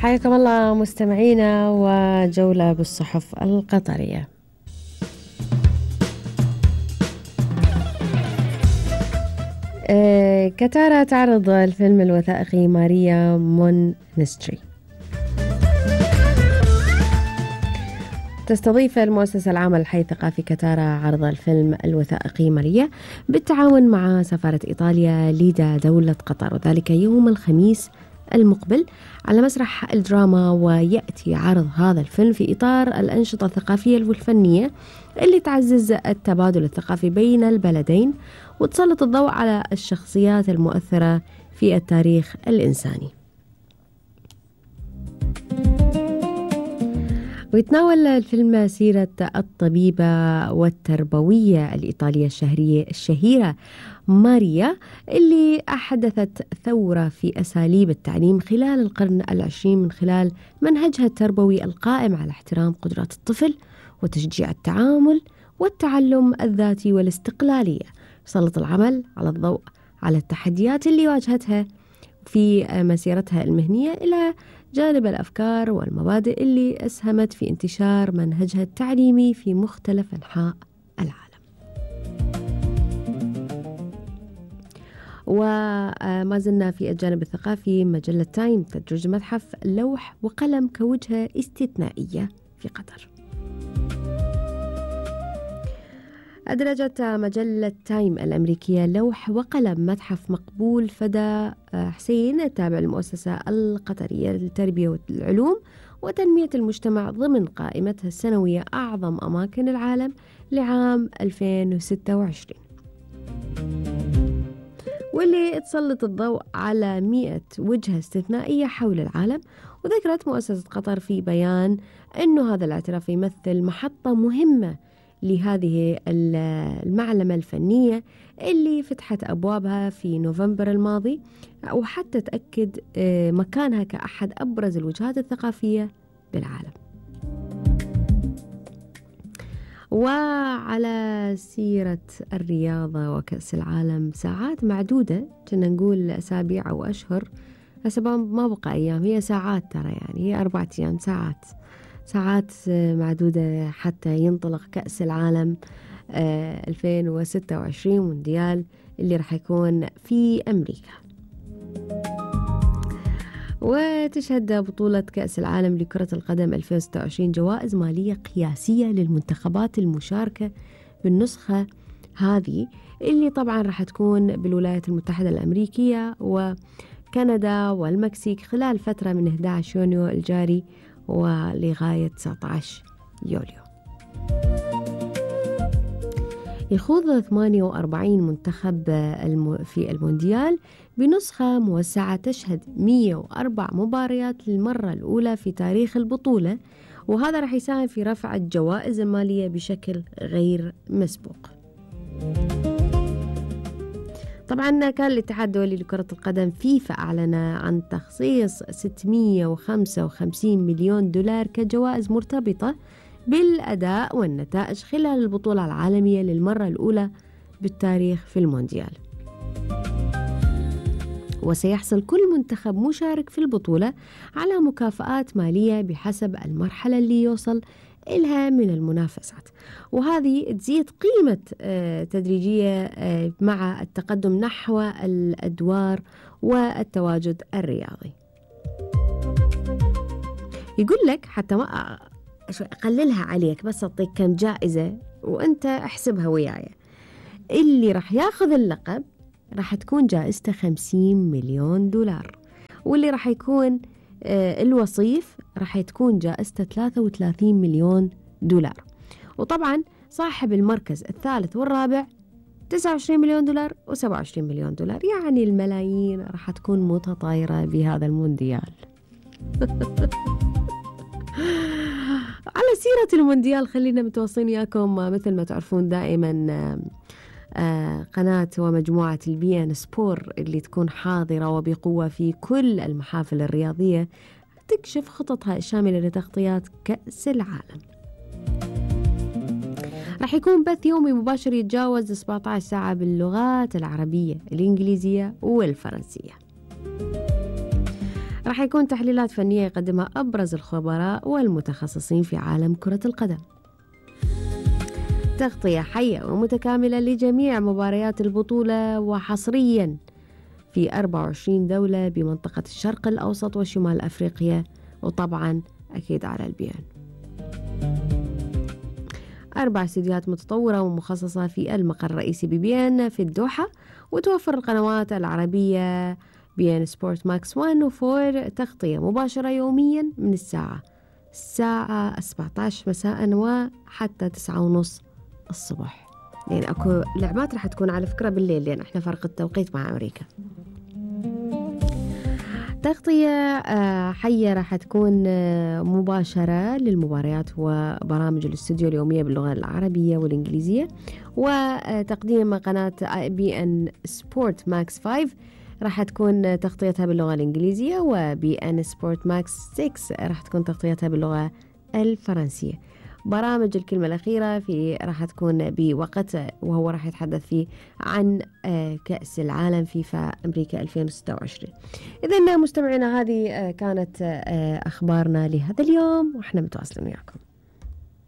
حياكم الله مستمعينا وجولة بالصحف القطرية. كتارا تعرض الفيلم الوثائقي ماريا مونستري. تستضيف المؤسسة العامة للحي الثقافي كتارا عرض الفيلم الوثائقي ماريا بالتعاون مع سفارة إيطاليا لدى دولة قطر، وذلك يوم الخميس المقبل على مسرح الدراما. ويأتي عرض هذا الفيلم في إطار الأنشطة الثقافية والفنية اللي تعزز التبادل الثقافي بين البلدين وتسلط الضوء على الشخصيات المؤثرة في التاريخ الإنساني. ويتناول الفيلم سيرة الطبيبة والتربوية الإيطالية الشهيرة ماريا اللي أحدثت ثورة في أساليب التعليم خلال القرن العشرين من خلال منهجها التربوي القائم على احترام قدرات الطفل وتشجيع التعامل والتعلم الذاتي والاستقلالية. سلط العمل على الضوء على التحديات اللي واجهتها في مسيرتها المهنية إلى جانب الأفكار والمبادئ اللي أسهمت في انتشار منهجها التعليمي في مختلف أنحاء العالم. وما زلنا في الجانب الثقافي. مجلة تايم تدرج متحف لوح وقلم كوجهة استثنائية في قطر. أدرجت مجلة تايم الأمريكية لوح وقلم متحف مقبول فدا حسين التابع للمؤسسة القطرية للتربية والعلوم وتنمية المجتمع ضمن قائمتها السنوية أعظم أماكن العالم لعام 2026، واللي تسلط الضوء على 100 وجهة استثنائية حول العالم. وذكرت مؤسسة قطر في بيان أنه هذا الاعتراف يمثل محطة مهمة لهذه المعلمة الفنية اللي فتحت أبوابها في نوفمبر الماضي، وحتى تأكد مكانها كأحد أبرز الوجهات الثقافية بالعالم. وعلى سيرة الرياضة وكأس العالم، ساعات معدودة، كنا نقول أسابيع أو أشهر، هسه ما بقى أيام، هي ساعات ترى، يعني هي 4 أيام، ساعات معدودة حتى ينطلق كأس العالم 2026 مونديال اللي راح يكون في أمريكا. وتشهد بطولة كأس العالم لكرة القدم 2026 جوائز مالية قياسية للمنتخبات المشاركة بالنسخة هذه، اللي طبعا راح تكون بالولايات المتحدة الأمريكية وكندا والمكسيك خلال فترة من 11 يونيو الجاري ولغاية 19 يوليو. يخوض 48 منتخب في المونديال بنسخة موسعة تشهد 104 مباريات للمرة الأولى في تاريخ البطولة، وهذا رح يساهم في رفع الجوائز المالية بشكل غير مسبوق. طبعا كان الاتحاد الدولي لكرة القدم فيفا أعلن عن تخصيص 655 مليون دولار كجوائز مرتبطة بالأداء والنتائج خلال البطولة العالمية للمرة الأولى بالتاريخ في المونديال. وسيحصل كل منتخب مشارك في البطولة على مكافآت مالية بحسب المرحلة اللي يوصل إلها من المنافسات، وهذه تزيد قيمة تدريجية مع التقدم نحو الأدوار والتواجد الرياضي. يقول لك حتى ما أقللها عليك، بس أعطيك كم جائزة وأنت احسبها وياي. اللي راح ياخذ اللقب راح تكون جائزته 50 مليون دولار، واللي راح يكون الوصيف راح تكون جائزته 33 مليون دولار. وطبعا صاحب المركز الثالث والرابع 29 مليون دولار و27 مليون دولار، يعني الملايين راح تكون متطايرة بهذا المونديال. على سيرة المونديال خلينا متواصلين وياكم مثل ما تعرفون دائما قناة ومجموعة البي ان سبور اللي تكون حاضرة وبقوة في كل المحافل الرياضية تكشف خططها الشاملة لتغطيات كأس العالم. راح يكون بث يومي مباشر يتجاوز 17 ساعة باللغات العربية، الإنجليزية والفرنسية. راح يكون تحليلات فنية يقدمها أبرز الخبراء والمتخصصين في عالم كرة القدم. تغطية حية ومتكاملة لجميع مباريات البطولة، وحصريا في 24 دولة بمنطقة الشرق الأوسط وشمال أفريقيا، وطبعا أكيد على البيان. 4 استديوهات متطورة ومخصصة في المقر الرئيسي ببيان في الدوحة، وتوفر القنوات العربية بيان سبورت ماكس 1 و4 تغطية مباشرة يوميا من الساعة 17 مساء وحتى 9:30 الصبح. يعني أكو لعبات رح تكون على فكرة بالليل، لأن احنا فرق التوقيت مع أمريكا. تغطية حية راح تكون مباشرة للمباريات وبرامج الاستوديو اليومية باللغة العربية والإنجليزية، وتقديم قناة بي ان سبورت ماكس 5 راح تكون تغطيتها باللغة الإنجليزية، وبي ان سبورت ماكس 6 راح تكون تغطيتها باللغة الفرنسية. برامج الكلمة الأخيرة راح تكون بوقت وهو راح يتحدث فيه عن كأس العالم فيفا أمريكا 2026. إذن مستمعينا، هذه كانت أخبارنا لهذا اليوم، وإحنا متواصلين وياكم.